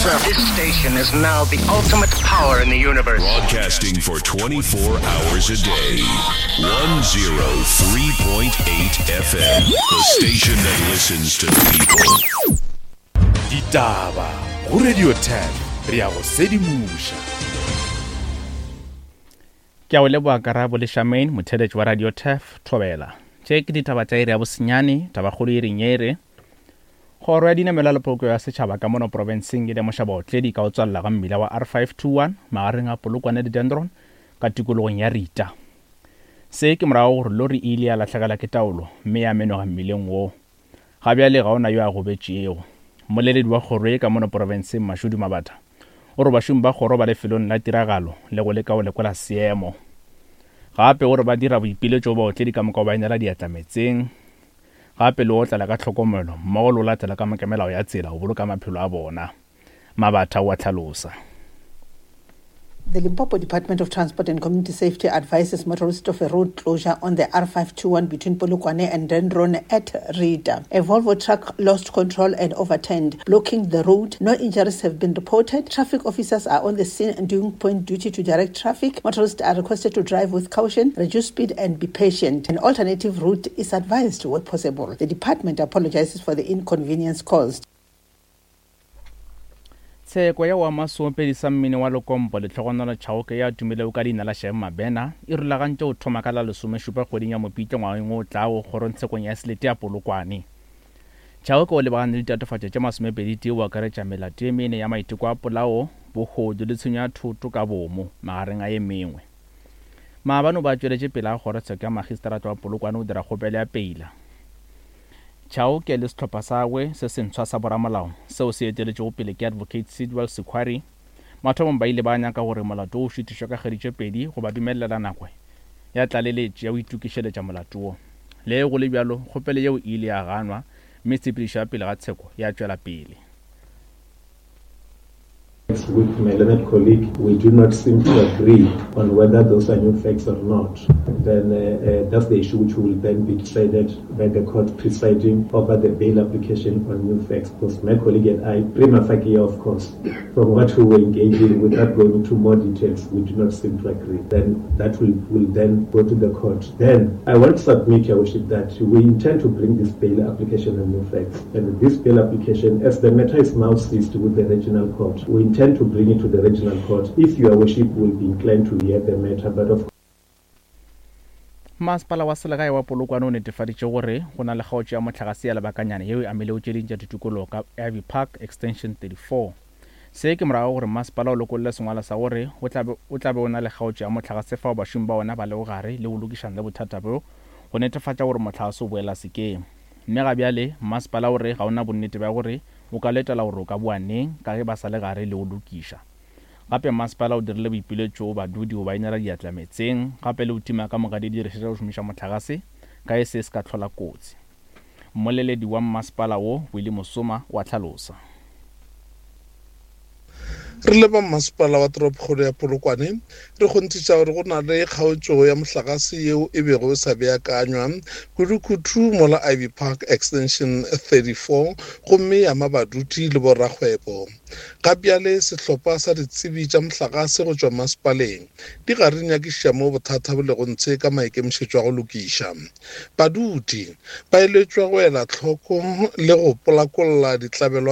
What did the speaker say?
This station is now the ultimate power in the universe. Broadcasting for 24 hours a day. 103.8 FM. The station that listens to people. Ditaba go Radio 10 re ya go sedimoša. Ke a o leboa Karabo le Charmaine, motheeletši wa Radio Turf, Thobela. Tše ke ditaba tša iri ya bosenyane, tabakgolo e reng ye re, Kgoro ya Dinamelwa le Polokego ya Setšhaba ka mono profenseng e lemoša baotledi ka go tswalela ga mmila wa R521 magareng a Polokwane le Dendron ka tikologong ya Rita. Se ke morago gore lori e ile ya lahlegelwa ke taolo mme ya menoga mmileng woo. Ga bjale ga o na yo a gobetšego. Mmoleledi wa kgoro ye ka mono profenseng Mashudu Mabatha o re bašomi ba kgoro ba lefelong la tiragalo le go leka go lekola seemo. Gape o re ba dira boipiletšo go baotledi ka moka go ba inela diatla meetseng gape le go otlela ka tlhokomelo mmogo le go latela ka moka melao ya tsela go boloka maphelo a bona. Mabatha o a hlalosa. The Limpopo Department of Transport and Community Safety advises motorists of a road closure on the R521 between Polokwane and Dendron at Rita. A Volvo truck lost control and overturned, blocking the road. No injuries have been reported. Traffic officers are on the scene and doing point duty to direct traffic. Motorists are requested to drive with caution, reduce speed and be patient. An alternative route is advised where possible. The department apologizes for the inconvenience caused. Tsheko ya wa seopedi sa mmino wa Lekompo Lehlogonolo Chauke ya tumilego ka leina la Shem Mabena e rulagantše go thoma ka la lesomešupa kgweding ya Mopitlo ngwageng o tlago kgorongtshekong ya selete ya Polokwane. Chauke o lebagane le ditatofatšo tše masomepeditee go akaretša melato ye mene ya maiteko a polao, bohodu le tshenyo ya thoto ka bomo, magareng a ye mengwe. Maabane o be a tšweletše pele ga kgorotsheko ya magistrata wa Polokwane go dira kgopelo ya peila. Chauke le sehlopha sa gagwe se sentshwa sa boramolao seo se eteletšwego pele ke Advocate Sidwell Sekhwari, mathomong ba ile ba nyaka gore molato wo o šutišwe ka kgwedi tše pedi go ba dumelela nako ya tlaleletšo ya go itokišeletša molato wo. Le ge go le bjalo, kgopelo yeo e ile ya ganwa mme tshepedišo ya pele ga tsheko ya tšwela pele. With my learned colleague, we do not seem to agree on whether those are new facts or not. Then uh, uh, that's the issue which will then be decided by the court presiding over the bail application on new facts. Because my colleague and I, prima facie, of course, from what we were engaging, without going into more details, we do not seem to agree. Then that will, will then go to the court. Then I want to submit, Your Worship, that we intend to bring this bail application on new facts. And this bail application, as the matter is now seized with the regional court, we intend to bring it to the regional court if Your Worship will be inclined to hear the matter. But of Masepala wa selegae wa Polokwane o netefaditše gore go na le kgaotšo ya mohlagase ya lebakanyana yeo e amilego tše ding tša ditikologo ka Ivy Park Extension 34. Se ke morago ga gore masepala o lokolle sengwalwa sa gore o tla be o tla be o na le kgaotšo ya mohlagase fao bašomi ba ona ba lego gare le go lokišana le bothata bjo go netefatša gore mohlagase o boela sekeng. Mme ga bjale masepala o re ga o na bonnete bja gore o ka letela gore o ka boa neng ka ge ba sa le gare le go lokiša. Gape masepala o dirile boipiletšo go badudi go ba inela diatla meetseng gape le go tima ka moka didirišwa tša go šomiša mohlagase ka ge se se ka hlola kotsi. Mmoleledi wa mmasepala wo, Willie Mosoma, o a hlalosa. Re le ba Mmasepala wa Toropokgolo ya Polokwane, re kgonthiša gore go na le kgaotšo ya mohlagase yeo e bego e sa beakanywa kudukudu mola Ivy Park Extension 34 gomme ya ama badudi le borakgwebo. Ga bjale sehlopha sa ditsebi tša mohlagase go tšwa masepaleng di gare di nyakišiša mo bothata bo lego ntshe ka maikemišetšo a go lokiša. Badudi ba eletšwa go ela hloko le go polakolla ditlabelwa.